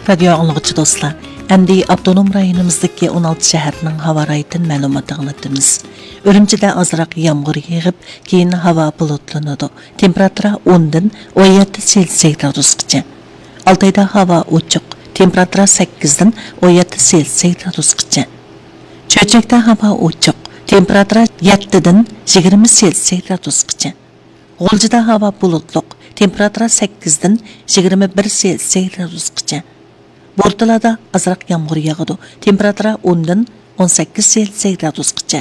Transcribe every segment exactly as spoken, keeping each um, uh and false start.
رادىيو ئاڭلىغۇچى دوستلار، ئەمدى ئاپتونوم رايونىمىزدىكى ئون ئالتە شەھەرنىڭ ھاۋا رايىتىن مەلۇمات ئاڭلىتىمىز. ئۈرۈمچىدە ئازراق يامغۇر يېغىپ، كېيىن ھاۋا بۇلۇتلىنىدۇ. تېمپېراتۇرا ئوندىن ئون يەتتە سېلسىيە گرادۇسقىچە. ئالتايدا ھاۋا ئوچۇق. تېمپېراتۇرا سەككىزدىن ئون يەتتە سېلسىيە گرادۇسقىچە. چۆچەكتە ھاۋا ئوچۇق. تېمپېراتۇرا يەتتىدىن يىگىرمە سېلسىيە گرادۇسقىچە. غۇلجىدا ھاۋا بۇلۇتلۇق، تېمپېراتۇرا سەككىزدىن يىگىرمە بىر سېلسىيە گرادۇسقىچە. بورتالادا ئازراق يامغۇر ياغىدۇ، تېمپېراتۇرا ئوندىن ئون سەككىز سېلسىيە گرادۇسقىچە.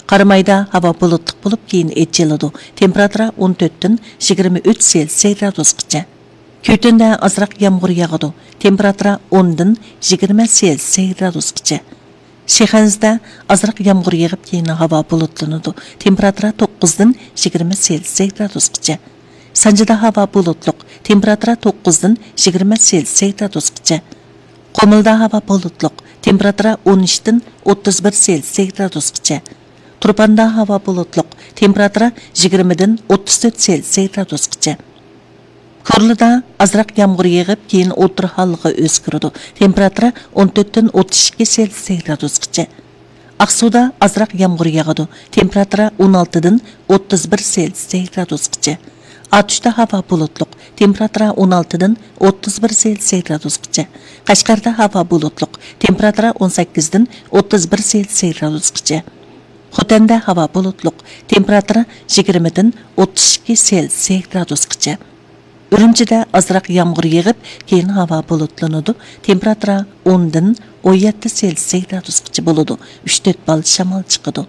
قارامايدا ھاۋا بۇلۇتلۇق بولۇپ، كېيىن ئېچىلىدۇ، تېمپېراتۇرا ئون تۆتتىن يىگىرمە ئۈچ سېلسىيە گرادۇسقىچە. كۈتۈندە ئازراق يامغۇر ياغىدۇ، تېمپېراتۇرا ئوندىن يىگىرمە سېلسىيە گرادۇسقىچە. شىخەنزىدە ئازراق يامغۇر يېغىپ، كېيىن ھاۋا بۇلۇتلىنىدۇ. تېمپېراتۇرا توققۇزدىن يىگىرمە سېلسىيە گرادۇسقىچە. سانجىدا ھاۋا بۇلۇتلۇق. تېمپېراتۇرا توققۇزدىن يىگىرمە سېلسىيە گرادۇسقىچە. قۇمۇلدا ھاۋا بۇلۇتلۇق. تېمپېراتۇرا ئون ئۈچتىن ئوتتۇز بىر سېلسىيە گرادۇسقىچە. تۇرپاندا ھاۋا بۇلۇتلۇق. تېمپېراتۇرا يىگىرمىدىن ئوتتۇز تۆت سېلسىيە گرادۇسقىچە. كورلىدا ئازراق يامغۇر يېغىپ، كېيىن ئوتتۇرا ھاللىققا ئۆزگىرىدۇ. تېمپېراتۇرا ئون تۆتتىن ئوتتۇز ئىككى سېلسىيە گرادۇسقىچە. ئاقسۇدا ئازراق يامغۇر ياغىدۇ. تېمپېراتۇرا ئون ئالتىدىن ئوتتۇز بىر سېلسىيە گرادۇسقىچە. ئاتۇشتا ھاۋا بۇلۇتلۇق. تېمپېراتۇرا ئون ئالتىدىن ئوتتۇز بىر سېلسىيە گرادۇسقىچە. قەشقەردە ھاۋا بۇلۇتلۇق. تېمپېراتۇرا ئون سەككىزدىن ئوتتۇز بىر سېلسىيە گرادۇسقىچە. خوتەندە ھاۋا بۇلۇتلۇق، تېمپېراتۇرا يىگىرمىدىن ئوتتۇز ئىككى سېلسىيە گرادۇسقىچە. ئۈرۈمچىدە ئازراق يامغۇر يېغىپ، كېيىن ھاۋا بۇلۇتلىنىدۇ، تېمپېراتۇرا ئوندىن ئون يەتتە سېلسىيە گرادۇسقىچە بولىدۇ، ئۈچ تۆت بال شامال چىقىدۇ.